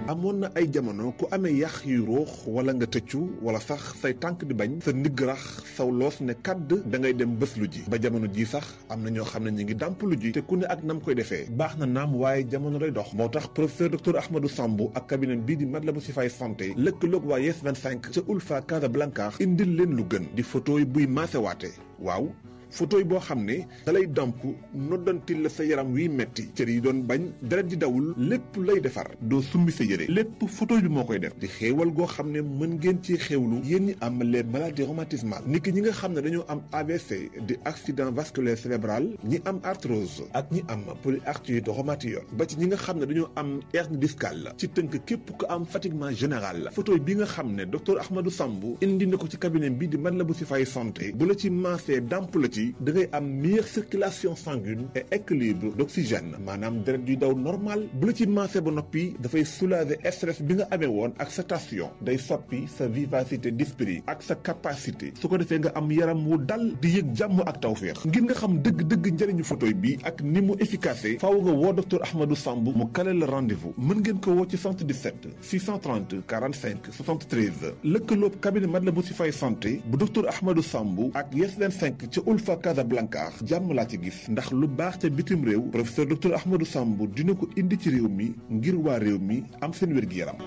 amoon na ay jamono ku amee yax yu ruux wala nga tëccu wala sax say tànk di bañ sa ndigg rax saw loos ne kàdd da ngay dem bés lu ji ba jamono ji sax am na ñoo xam ne ñu ngi dàmp lu ji te ku ne ak nam koy defee baax na naam waaye jamono lay dox moo tax professeur docteur Ahmadou Sambou ak cabinet bii di Matlaboul Chifaay santé lëkkaloog waa Yes 25 ca Ulfa Casablanca indil leen lu gën di photo yi buy maasewaate waaw photo yi boo xam ne dalay damp noddantil la sa yaram wiy metti cër yi doon bañ deret di dawul lépp lay defar doo summi sa yére lépp photo bi moo koy def di xéewal goo xam ne mën ngeen ci xéewlu yéen ñi am les maladies rhumatismales niki ñi nga xam ne dañoo am AVC di accident vasculaire cérébral ñi am arthrose ak ñi am polyarthrite rhumatoïde ba ci ñi nga xam ne dañoo am hernie discale ci tënk képp ku am fatiguement général photo bi nga xam ne docteur Ahmadou Sambou indi na ko ci cabinet bi di Matlaboul Chifaay santé bu la ci maasee damp la ci da ngay am meilleure circulation sanguine et équilibre d'oxygène maanaam deret yuy daw normal bu la ci maase ba noppi dafay soulager stress bi nga amee woon ak sa tension day soppi sa vivacité d'esprit ak sa capacité su ko defee nga am yaram wu dal di yëg jàmm ak tawféex ngir nga xam dëgg-dëgg njëriñu photoy bi ak ni mu efficace faaw nga woo docteur Ahmadou Sambou mu kale la rendez-vous mën ngeen ko woo ci 77 630 45 73 lëkkaloob cabinet Matlaboul Chifaay santé bu docteur Ahmadou Sambou ak Yes 25 ca Ulfa Casablanca jàmm laa ci gis ndax lu baax ca bitim réew professeur docteur Ahmadou Sambou dina ko indi ci réew mi ngir waa réew mi am seen wér-gi-yaram